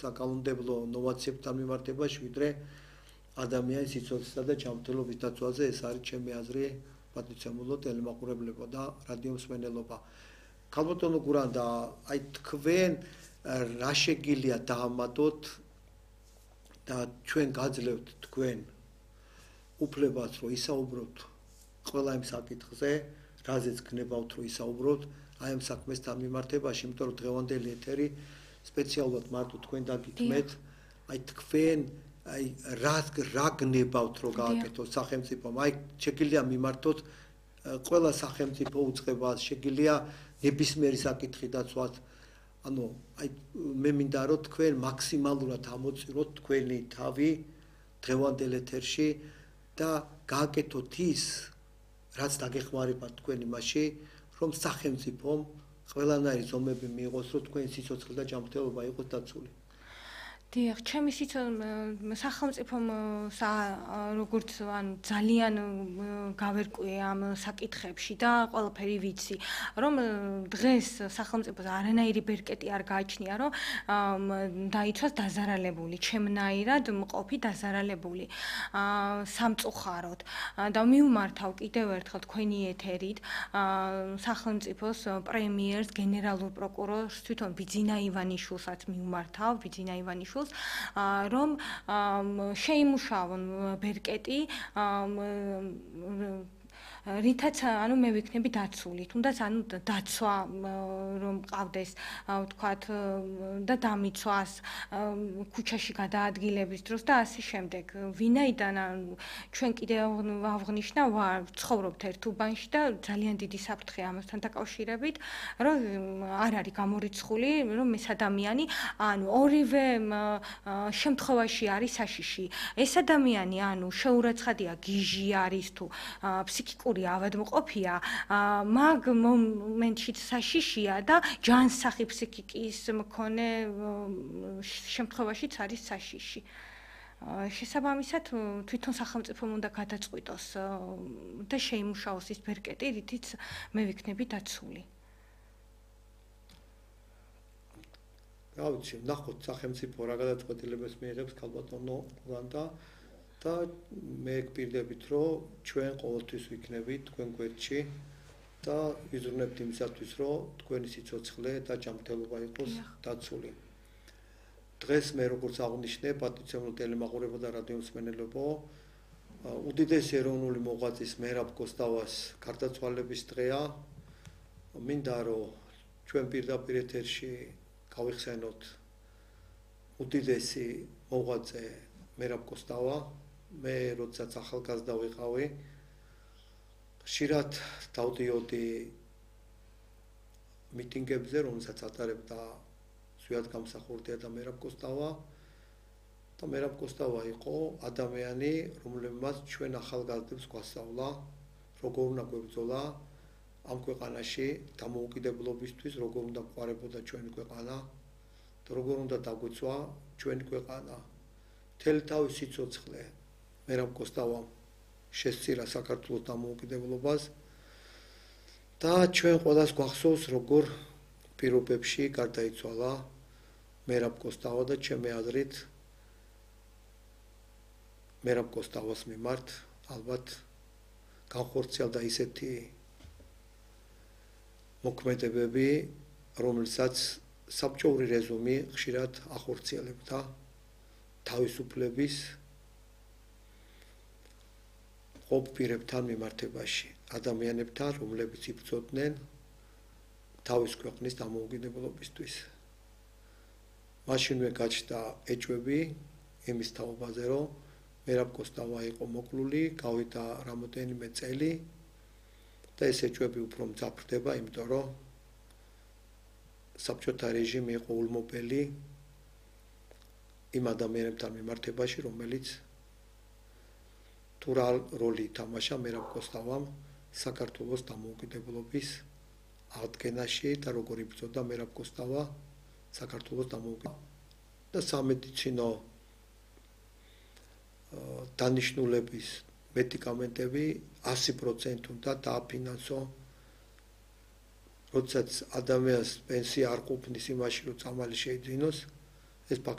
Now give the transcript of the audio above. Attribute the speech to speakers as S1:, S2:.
S1: საკანონმდებლო ნოვაციებთან მიმართებაში, ვიდრე ადამიანის სიცოცხლესა და ჯანმრთელობის დაცვაზე. ეს არის ჩემი აზრი, პატრიცემულო ტელემაყურებლებო და რადიო მსმენელობა. ქალბატონო გურანდა, აი თქვენ რა შეგიძლია დაამატოთ და ჩვენ გაძლევთ თქვენ უფლებას, რომ ისაუბროთ ყველა იმ საკითხზე, რაზეც გნებავთ, რომ ისაუბროთ აი ამ საქმესთან მიმართებაში, იმიტომ რომ დღევანდელი ეთერი სპეციალურად მარტო თქვენ დაგითმეთ, აი თქვენ აი რა გნებავთ, რომ გააკეთოთ სახელმწიფომ, აი შეგიძლია მიმართოთ ყველა სახელმწიფო უწყებას, შეგიძლია ნებისმიერი საკითხი დაცვათ. ანუ აი მე მინდა რომ თქვენ მაქსიმალურად ამოწიროთ თქვენი თავი დღევანდელ ეთერში და გააკეთოთ ის, რაც დაგეხმარებათ თქვენ იმაში, რომ სახელმწიფომ ყველანაირი ზომები მიიღოს, რომ თქვენი სიცოცხლე და ჯანმრთელობა იყოს დაცული.
S2: დიახ, ჩემი სახელმწიფომ როგორც ანუ ძალიან გავერკვე ამ საკითხებში და ყველაფერი ვიცი, რომ დღეს სახელმწიფოს არანაირი ბერკეტი არ გააჩნია, რომ დაიცვას დაზარალებული, ჩემნაირად მყოფი დაზარალებული სამწუხაროდ. და მივმართავ კიდევ ერთხელ თქვენი ეთერით სახელმწიფოს პრემიერს, გენერალურ პროკურორს, თვითონ ბიძინა ივანიშვილსაც მივმართავ, ბიძინა ივანიშვილს, რომ შეიმუშავონ ბერკეტი, რითაც ანუ მე ვიქნები დაცული, თუნდაც ანუ დაცვა რომ ყავდეს, ვთქვათ, და დამიცვას ქუჩაში გადაადგილების დროს და ასე შემდეგ. ვინაიდან ჩვენ კიდევ ავღნიშნა ვცხოვრობთ ერთ უბანში და ძალიან დიდი საფრთხე ამასთან დაკავშირებით, რომ არ არის გამორიცხული, რომ ეს ადამიანი, ანუ ორივე შემთხვევაში არის საშიში. ეს ადამიანი, ანუ შეურაცხადია, გიჟი არის თუ ფსიქიკური ავადმყოფია, მაგ მომენტში საშიშია და ჯანსაღი ფსიქიკის მქონე შემთხვევაშიც არის საშიში. შესაბამისად, თვითონ სახელმწიფომ უნდა გადაწყვიტოს და შეიმუშაოს ის ბერკეტი, რითიც მე ვიქნები დაცული.
S1: გავიცი, ნახოთ სახელმწიფო რა გადაწყვეტილებას მიიღებს ქალბატონო გურანდა. და მე გპირდებით, რომ ჩვენ ყოველთვის ვიქნებით თქვენ გვერდში და ვიზრუნებთ იმისათვის, რომ თქვენი სიცოცხლე და ჯანმრთელობა იყოს დაცული. დღეს მე როგორც აღნიშნე, პატრიცემულო ტელემაყურებო და რადიო მსმენელებო, უდიდესი ეროვნული მოღვაწის მერაბ კოსტავას გარდაცვალების დღეა. მინდა რომ ჩვენ პირდაპირ ეთერში გავიხსენოთ უდიდესი მოღვაწე მერაბ კოსტავა. მე როდესაც ახალგაზრდა ვიყავი, ხშირად დავდიოდი მიტინგებზე, რომელსაც ატარებდა ზვიად გამსახურდია და მერაბ კოსტავა. და მერაბ კოსტავა იყო ადამიანი, რომელმაც ჩვენ ახალგაზრდებს გვასწავლა, როგორ უნდა გვებრძოლა ამ ქვეყანაში დამოუკიდებლობისთვის, როგორ უნდა გვყარებოდა ჩვენი ქვეყანა და როგორ უნდა დაგვეცვა ჩვენი ქვეყანა. მთელი თავის სიცოცხლე მერაბ კოსტავამ შესწირა საქართველოს დამოუკიდებლობას და ჩვენ ყველას გვახსოვს, როგორ პირობებში გარდაიცვალა მერაბ კოსტავა და ჩემი აზრით მერაბ კოსტავას მიმართ ალბათ განხორციელდა ისეთი მოქმედებები, რომელსაც საბჭოური რეჟიმი ხშირად ახორციელებდა თავისუფლების ყოფ-პირებთან მიმართებაში, ადამიანებთან, რომლებიც იბრძოდნენ თავის ქვეყნის დამოუკიდებლობისთვის. მაშინვე გაჩნდა ეჭვები იმის თაობაზე, რომ მერაბ კოსტავა იყო მოკლული, გავიდა რამოდენიმე წელი და ეს ეჭვები უფრო მძაფრდება, იმიტომ რომ საბჭოთა რეჟიმი იყო ულმობელი იმ ადამიანებთან მიმართებაში, რომელიც თუ რა როლი ითამაშა მერაბ კოსტავამ საქართველოს დამოუკიდებლობის აღდგენაში და როგორ იბრძოდა მერაბ კოსტავა საქართველოს დამოუკიდებლობაზე და სამედიცინო დანიშნულების მედიკამენტები 100% უნდა დააფინანსო. როდესაც ადამიანს პენსია არ ყოფნის იმაში, რომ წამალი შეიძინოს, ეს ფაქტი